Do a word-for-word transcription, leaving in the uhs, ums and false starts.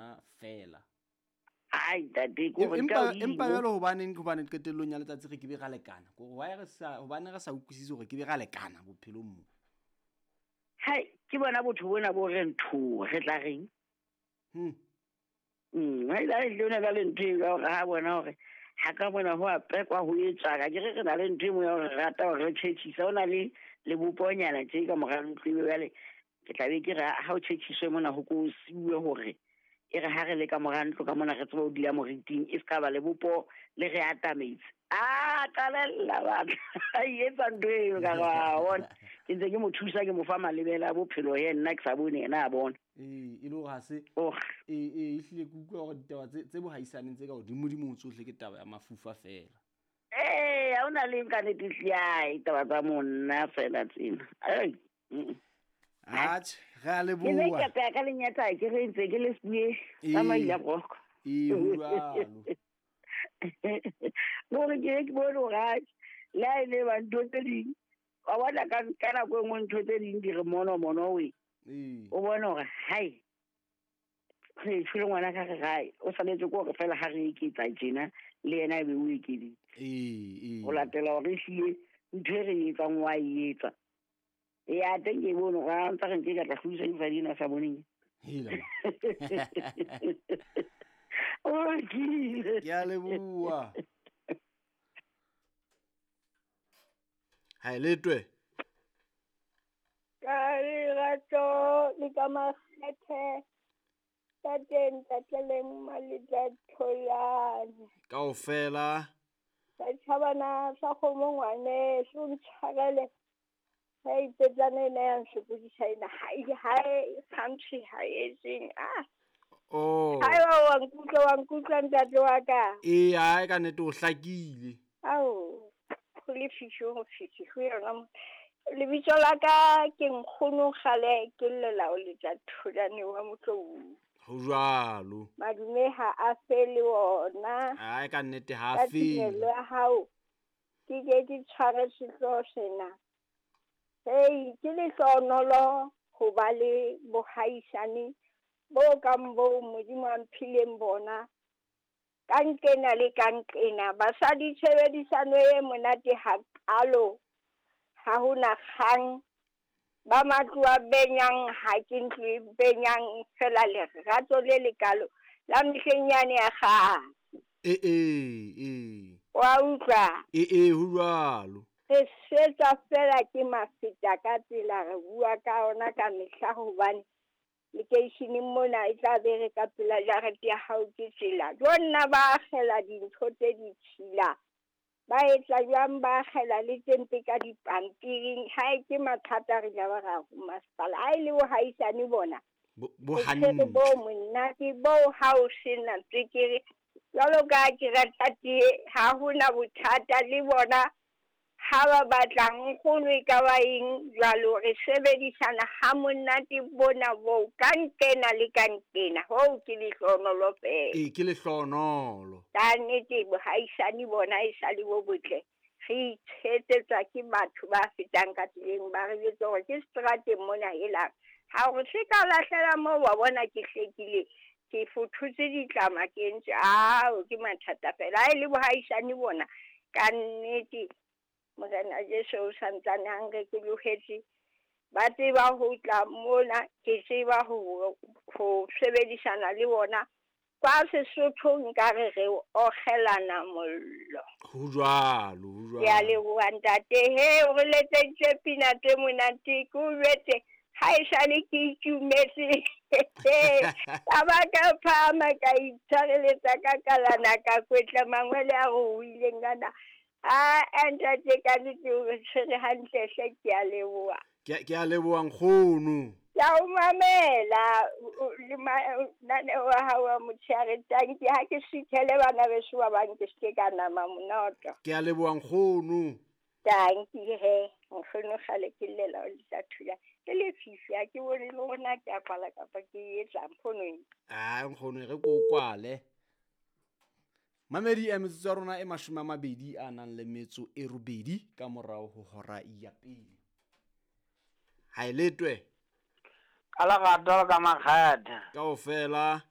bona fela. Ai ntate ko re empa empa jwale hobaneng hobane qetellong ya letsatsi re ke be ra lekana. Ko why re sa hobane re sa utlwisise hore ke be ra lekana bophelong mo. Hai ke bona botho bona bo re ntho re tla reng. Hm. Mm, hai la le ona le ntho e hore ha bona hore ha ka bona ho apekwa ho etswa ka ke re re na le ntho e mo ya hore rata hore re tjhetjhisa ona le le boponyana tje ka mora ntlo jwale ke tla be ke re ha o tjhetjhiswe mona ho ko siuwe hore e re ha re le ka mora ntlo ka mona re tseba ho dula moriting e ska ba le bopo le re atametse. Ah qalella batla e etsa ntho eo ka ra bona ke ntse ke mo thusa ke mo fa malebela a bophelo ye nna ke sa bone yena a bona. Ee e le hore ha se ee ee ehlile ke utlwa hore ditaba tse tse bohaisaneng tse ka hodimodimo tsohle ke taba ya mafufa fela. Ee ha ona le nka nnete hle taba tsa monna fela tsena. Ai atjhe re a leboha. Ke ne ka lenyatsa ke re ntse ke le sbuye tsa maila broko. Ee ho jwalo. Gore ke ke bone hore atjhe le ha e le ba ntho tse ding wa bona ka ka nako e nngwe ntho tse ding di re mono mono we. O bone hore hai re tshwere ngwana ka re gae o saletse ko hore fela ha re eketsa tjena le yena e be o ekeditse. Ee ee ho latela hore ehlile ntho e re etsang wa e etsa. Ya teng ke bone hore ha ntse re nke ka tla hlodisa difadina a sa boneng. Hela. O kile. Ke a leboha. Ha letwe. Ka lerato le ka makgethe tate ntatleleng Maletla Tholane. Kaofela. Setjhabana sa kgomo ngwaneso ntshwarele. Hei petlane ena ya nsokodisa ena ha ha country ha e seng ah. Oh. Hai wa wa nkutlwa wa nkutlwa ntate wa ka. Ee hai ka nnete o hlakile. Ao ho le fifi ho fifi ho yona. Lebitso la ka ke nkgono kgale ke llela o Letla Tholane wa Motlou. Ho jwalo. Madume ha a fele ona. Hai ka nnete ha a fele. Ka ya hao ke ke ke tshware sehlooho sena. Hei ke lehlohonolo ho ba le bohaisane bo kang bo Modimo a mphileng bona. Ka nkena le ka nkena basadi tshebedisano e monate hakalo. Ha hona kgang ba matlo a benyang ha ke ntlo e benyang fela lerato le lekalo la mehleng yane ya kgale. Ee ee ee. Wa utlwa? Ee ee ho jwalo. Re setsa fela ke mafeta ka tsela re bua ka ona ka mehla hobane lekeisheneng mona e tla be re ka pela jarete ya hao ke tsela. Jo nna ba akgela dintho tse ditshila. Ba etsa jwang ba akgela le tse ka dipampiring ha e ke mathata re ja ba ra ho masepala. Ha e le bohaisane bona. Bo hantle. Bo monate bo ha o sena tswekere. Jwalo ka ke rata tee ha hona bothata le bona. Ha ba batlang nkgono e ka ba eng jwalo re sebedisana ha monate bona bo ka nkena le ka nkena hoo ke lehlohonolo fela. Ee ke lehlohonolo. Ka nnete bohaisane bona e sa le bo botle. Re itshetsetsa ke batho ba fetang ka tseleng ba re jwetsa hore ke seterateng mona helang. Ha hore se ka lahlela moo wa bona ke hlekile ke fothotse ditlama ke entse ao ke mathata fela. Ha e le bohaisane bona ka nnete Morena Jesu o santsane a nrekolohetse ba tseba ho tla mona ke tseba ho ho sebedisana le bona kwa Sesothong nka re re okgelana mollo. Ho jwalo, ho jwalo. Ke a leboha ntate he o re letseditse pina tse monate ke o jwetse ha esale ke itumetse. Ka ba ka phahama ka itshwareletsa ka kalana ka kwetla mangwele a ruileng ana. Ah ntate ka nnete o re tshwere hantle hle ke a leboha. Ke ke a leboha nkgono. Ke a o mamela le mananeo a hao a motshehare tanki ha ke suthele bana beso ba bang ke seke ka nama monoto. Ke a leboha nkgono. Tanki he nkgono kgale ke llela o Letla Thula. Ke lefifi ha ke bone le hore na ke a kwala kapa ke etsang phonong. Ah nkgono re ko kwale. Mamedi ya metsotso ya rona e mashome a mabedi a nang le metso e robedi ka morao ho hora ya pele. Ha e letwe. Ka lerato ka makgethe. Kaofela.